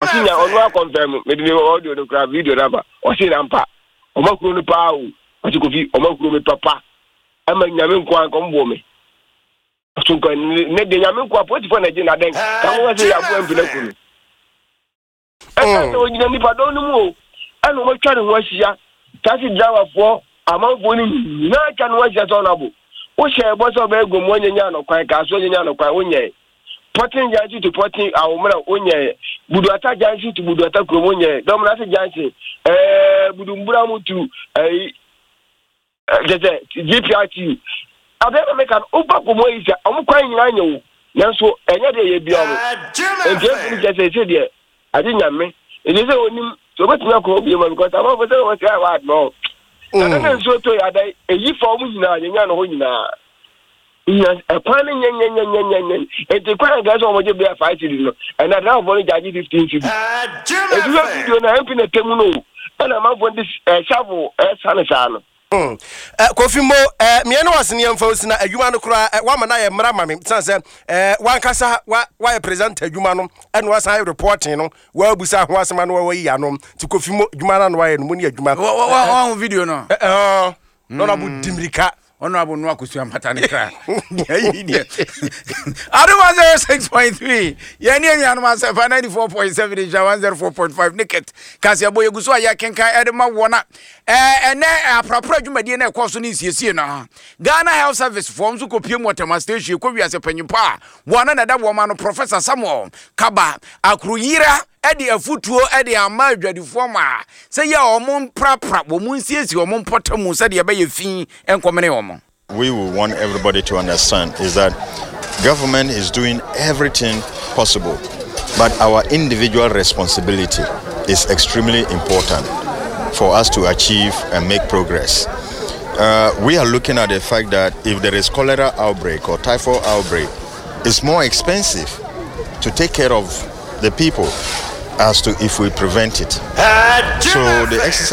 Ɔsi nya ɔno akɔnfɛm mede ne audio no kora video no aba. Ɔsi na mpa ɔma kuro no paa o. Ɔsi Kofi ɔma kuro mi papa. Ɛma nyame nko anka ɔmo bɔ me. Ɔso nka ne de nyame nko a polisifoɔ na gye na dɛn ka mo sɛ yɛ aboa mpina kuro no. Ɛka sɛ ɔgyina nipadɔm no mu o ɛna wɔatwa ne ho ahyia taxi driverfoɔ amanfoɔ no nyinaa atwa ne ho ahyia sɛ ɔnabo wohyɛ ɛbɔ sɛ ɔbɛyɛ gomu anyanya no kwan kaa so anyanya no kwan wonyɛe pɔten junction to pɔten awommerɛ wonyɛe buduata junction to buduata kurom wonyɛe dɔmnase junction ɛɛ budumbura mu tu ɛyi kyɛ sɛ GPRT abɛn na meka no woba kɔmu ayi sɛ ɔmo kwan nyinaa nyɛ wo nanso ɛnyɛ deɛ yɛ bia ɔmo nti ɛmfi no kyɛ sɛ ɛsɛ deɛ agye nyame nti sɛ onim sɛ obɛtumi akɔ hɔ bio ma because amanfo sɛ wɔn sɛ ɛwɔ adɔ na ne nsuo tɔ yɛ adan ɛyi fa ɔmo nyinaa yɛnya no hɔ nyinaa nya ɛkwan no nyɛnyɛnyɛnyɛnyɛ nti kwan a nka sɛ wɔn gye bɛyɛ five cedi no ɛna driverfoɔ no gyagye fifteen cedi nti sɛ video na mp na tɛmu no ɛna amanfoɔ de shovel ɛsane saa no. Mm. Eh, Kofi Mo, eh, meɛ ne wase ne yɛmfa wo sina adwuma no koraa eh, woama no ayɛ mmara ma me sane sɛ eh, wankasa wa, woayɛ presenter adwuma no ɛna wasan ayɛ reporting no woabusa ho asɛm ano wayi ano nti Kofi Mo adwuma no ano ayɛ no mu ne adwuma. Wahu video no? Eh, eh, na ɔnabo di mmirika. Honorable Noah Kosua Mpata ne kra. Ayi deɛ. Adom 106.3. Yɛn ne anuanom asɛmpa 94.7 nhyira 104.5 ne kɛt. Kaseɛbɔ yɛgu so a yɛkenkan ɛde ma wɔn a ɛnɛ aprapra dwumadie na ɛkɔɔ so ne nsiesie no. Ghana Health Service foɔ nso kɔpie mu Ɔtɛma Station kɔ wiase panyimpa a wɔn na ɛda wɔn ano Professor Samuel Kaba Akroyira de afutuo de ama adwadifoɔ ma sɛ yɛ a wɔn mprapra wɔn nsiesie wɔn mpɔtamu sɛdeɛ ɛbɛyɛ fi nkɔmene wɔn. We will want everybody to understand is that government is doing everything possible, but our individual responsibility is extremely important for us to achieve and make progress. Uh, we are looking at the fact that if there is cholera outbreak or typhoid outbreak, it's more expensive to take care of the people as to if we prevent it. So the exercise